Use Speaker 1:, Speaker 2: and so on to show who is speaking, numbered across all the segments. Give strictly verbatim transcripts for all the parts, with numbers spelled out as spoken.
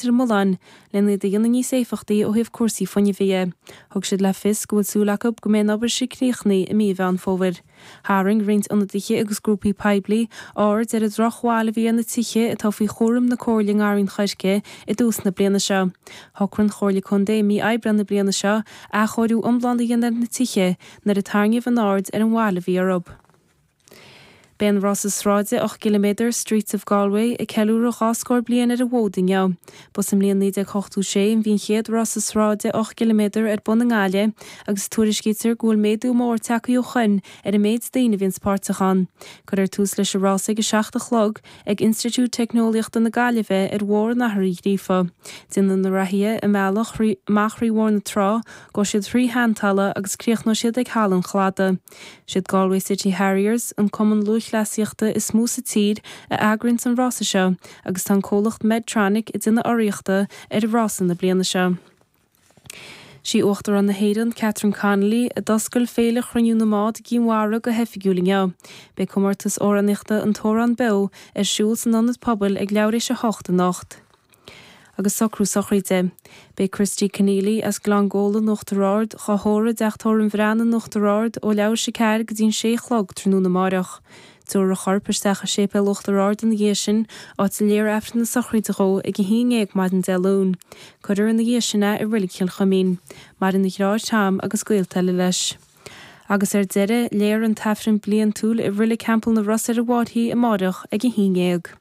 Speaker 1: Ar an mBulláin lena iad a dhéanamh níos éifeachtaí ó thaobh cúrsaí fuinnimh dhe. Thug siad le fios go bhfuil súil acu go mbeidh an obair seo críochnaithe i mí Mheán Fómhair. Tharraing roinnt ionadaithe agus grúpaí poiblí aird ar an drochbhail a bhí ar na tithe atá faoi chúram na Comhairle i nGarraí an Choirce i dtús na bliana seo. Shocraigh an Chomhairle Contae i mí Aibreán na bliana seo athchóiriú iomlán a dhéanamh ar na tithe nuair a tarraingíodh an aird ar an bhail a bhí orthu. Beidh an rása sráide ocht gciliméadar Streets of Galway ag ceiliúradh dhá scór bliain ar an bhfód inniu. Ba sa mbliain naoi déag ochtó sé a bhí an chéad rása sráide ocht gciliméadar ar bun i nGaillimh agus tuairiscítear go bhfuil méadú mór tagtha ó shin ar an méid daoine a bhíonns páirteach ann. Cuirfear tús leis an rása ag a seacht a chlog ag Institiúid Teicneolaíochta na Gaillimhe ar Bhóthar an Athar Uí Ghríofa. Déanfaidh na reathaithe a mbealach amach thrí Bhóthar na Trá, gabhfaidh siad thrí Sheantalamh agus críochnóidh siad ag Halla an Chladaigh. Siad Galway City Harriers, an cumann lúthchleasaíochta is mó sa tír, a eagraíonn an rása seo agus tá an comhlacht Medtronic ag déanamh urraíochta ar an rása na bliana seo. Sí Uachtarán na hÉireann Catherine Connolly a d'oscail Féile Chruinniú na mBád i gCinn Mhara go hoifigiúil inniu. Beidh comórtas amhránaíochta An tAmhrán Beo ar siúl san ionad pobail ag leathuair tar éis a hocht anocht. Agus socrú sochraide. Beidh Christy Conneely as Gleann Góla in Uachtar Ard á thórramh i dteach tórraimh an Bhreathnaigh in Uachtar Ard ó leathuair tar éis a ceathair go dtí an sé a chlog tráthnóna amáireach. Tabharfar a chorp isteach i séipéal Uachtar Ard ina dhiaidh sin, áit a léifear Aifreann na sochraide dhó ag a haon déag maidin Dé Luain. Cuirfear ina dhiaidh sin é i Reilig Chill Chuimín. Maireann a dheartháir Tom agus gaolta eile leis. Agus ar deireadh, léifear an tAifreann bliantúil i Reilig Theampall na Ros ar an bhFairche amáireach ag a haon déag.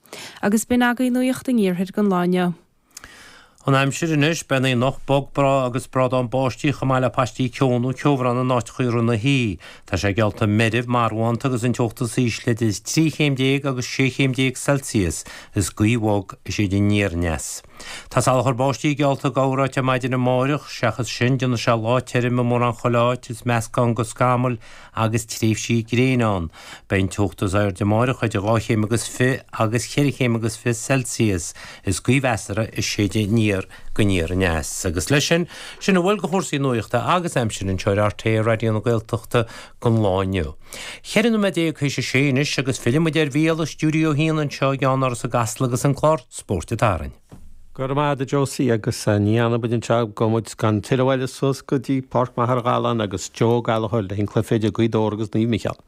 Speaker 1: Agus b'in agaibh nuacht an iarthair don lá inniu.
Speaker 2: An aimsir anois, beidh an aonach bog breá agus brádán báistí chomh maith le paistí ceo nó ceobhrán in áiteacha i rith na hoíche. Tá sé geallta meirbh, marbhánta agus an teocht is ísle idir trí chéim déag agus sé chéim déag Celsius is gaoth bhog ag séideadh aniar aneas. Tá salachar báistí geallta i gcorráit ar maidin amáireach, seachas sin déanfaidh sé lá tirim i mórán chuile áit is meascán de scamaill agus tréimhsí gréine ann. Beidh an teocht is airde amáireach idir dhá chéim agus fiche agus cheithre chéim agus fiche Celsius is gaoth mheasartha ag séideadh aniar go aniar aneas. Agus leis sin, sin a bhfuil de chúrsaí nuachta agus aimsire anseo ar RTÉ Raidió na Gaeltachta don lá inniu. Ceithre nóiméad déag théis a sé anois agus fillfidh muid ar Mhícheál i stiúideo a haon anseo i gceannáras i gCasla agus an clár Spórt an tSathairn.
Speaker 3: Go raibh maith agat a Josie agus ní fhanfaidh muid anseo gabhfaidh muid gan tuilleadh eile suas go dtí Páirc Machaire Galán agus Joe Gallagher le an cluiche idir Gaoth Dobhair agus Naomh Micheál.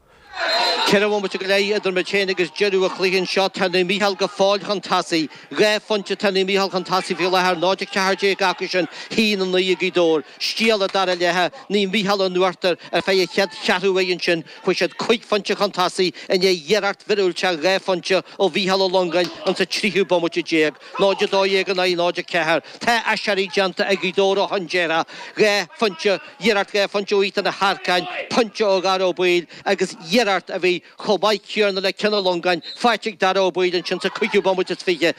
Speaker 4: Ceithre bhomaite go leith idir muid féin agus deireadh an chluiche anseo. Tá Naomh Micheál go fóill chun tosaigh. Dhá phointe tá Naomh Micheál chun tosaigh faoi láthair, náid a ceathair déag acu sin, haon a naoi ag Gaoth Dobhair. Stiall an dara leath, Naomh Micheál in uachtar ar feadh an chéad cheathrú uair ansin. Chuaigh siad cúig phointe chun tosaigh i ndiaidh iarracht mhíorúilteach dhá phointe ó Mhícheál Ó Longáin insa tríú bomaite déag. Náid a dó dhéag in aghaidh náid a ceathair. Tá aiséirí déanta ag Gaoth Dobhair ó shin déarfá. Dhá phointe, iarracht dhá phointe ó Ethan Ó hEarcáin, pointe ó Dhara Ó Baoill agus iarracht a bhí chomh maith céanna le ceann Ó Longáin faighte ag Dara Ó Baoill ansin sa cúigiú bomaite is fiche.